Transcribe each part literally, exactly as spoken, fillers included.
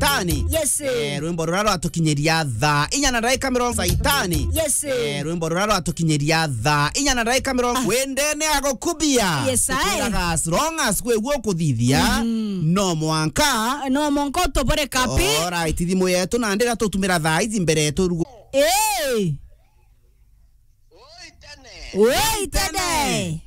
Saitani. Yes, eh. Eh, rwimbo ruria rwatukinyiria thaa inya na ndaika mirongo Saitani. Yes, eh. Eh, rwimbo ruria rwatukinyiria thaa inya na ndaika mirongo. Ah. Wendene agukubia. Yes, I. Tukwiraga as long as kwi guo kuthithia, mm, no mwanka. No mwanka utobore kapi. Alright, thimu yetu na ndira tutumira thaa ici mbere yetu rugo. Eh. Woi tene. Woi tene.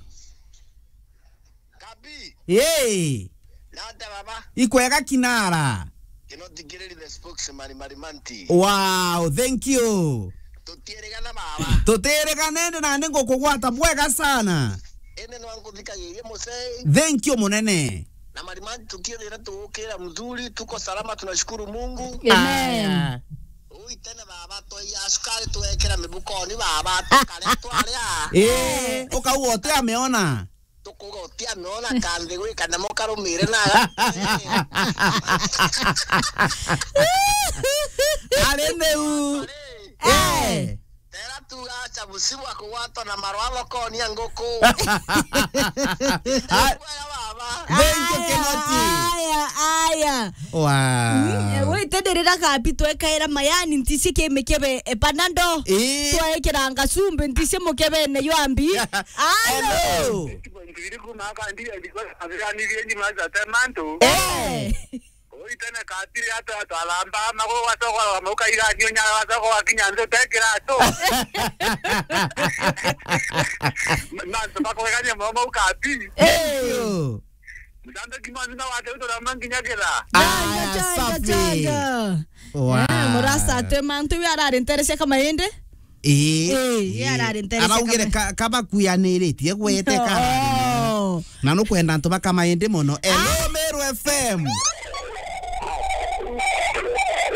Kabi. Hey. Nata baba. Ikwega kinara. Kino tikiriri the spokesman Marimanti. Wow, thank you. Tutirigana baba. Tutirigana ende na ningukugwata bwega sana. Ende no nkuthikagirie musei. Thank you munene. Na Marimanti tukio rira tuukira mzuri, tuko salama, tunashukuru Mungu. Amen. Aya. Ui tene baba, twaiya cukari twekira mibukoni baba, tukare twaria. Eh, ukauga uti ameona. Tukuga uti ameona kandi gwi kanyamo karumire na. Ari niu. Eh. Tera tuga acha busibu akugwatwa na marwa thokoni ya nguku. Kwega baba. Thank you, Kinoti. Aya, aya. Wow. Mm, eh, wite ndirira kapi twekaira mayani ntisi kimikebe, eh, panado. Eh. Twekiranga cumbi ntisi mukebene ywa mbi. Alo. Hello. Iri kuma kandi ya ndiko abirani byenji maza temanto. Eh. Oi tene katiri ata twalamba mago wasoko wa mauka ira nyo nya wasoko wa kinya nzo tekira to. Manto bakogania mama ukapi. Eh. Mzambe kimani na wate utora manginya kira. Aya, changa, safi. Changa. Wow. Eh, murasa atwe mantu iwe arari nterecia kama indi. Ii. Ii, ii, arari nterecia. Araugire kama ka-, kabakuyaniritie gwete karari. Oh. Na nukwenda antu bakama indi muno. Hello, ah, Meru F M.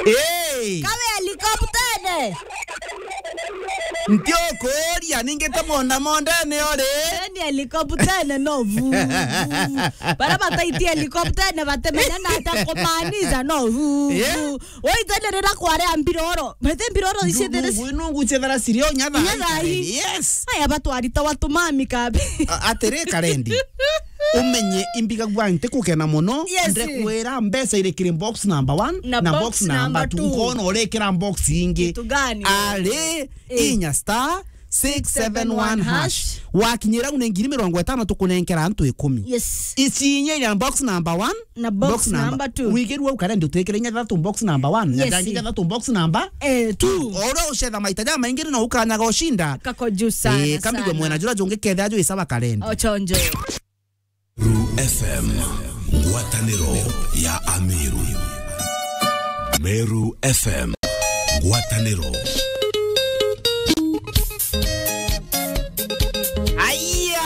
Ii. Kawe helikoptene. Nti ukuria, ningi te monda mondene uri. Ni helikoptene no vu, vu. Bara bataitie helikoptene batemenya na ata kumaanisha no vu, yeah, vu. Woi tene rira kwarea mbiroro. Mete mbiroro ici thiri. Nungu, nungu ciethera cirio nyatha. Nyatha. Yes. Aya batwarita watumami kabi. A-, atiri karendi. Umenye imbigagua nti kukena muno. Yes. Ndekwira mbeca iri kiri box number one na box number two. Ukona urikira box ingi. Kitu gani? Ari, eh, inya star six seven one hash. Wakinyira une ngiri mirongo itano tukunenkera antu ikumi. Yes. Ici inya ira box number one, na box number two. Wigirua ukare ndu twikire inya thatu box number one, yes, na dangi inya thatu box number, eh, two. Oro ucetha maita ja maingi no ukanyaga ushinda. Kako juu sana, eh, kambigwe sana. Mwena jura jungi ketha ju isaba karendi. Ochonjo. Meru F M, ngwataniro ya Ameru. Meru F M, ngwataniro. Aya!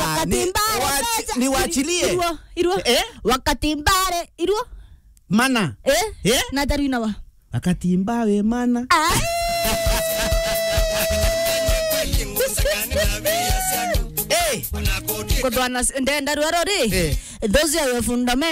Wakati ni mbare wachi-, pesa. Ni wachilie. Irua, irua. Eh? Wakati mbare, irua. Mana. Eh? Eh? Na taru inawa. Wakati mbawe mana. Ai. Eh. Kutwana s-, ndenda rwaro ri. Eh. Those are your fundamentals.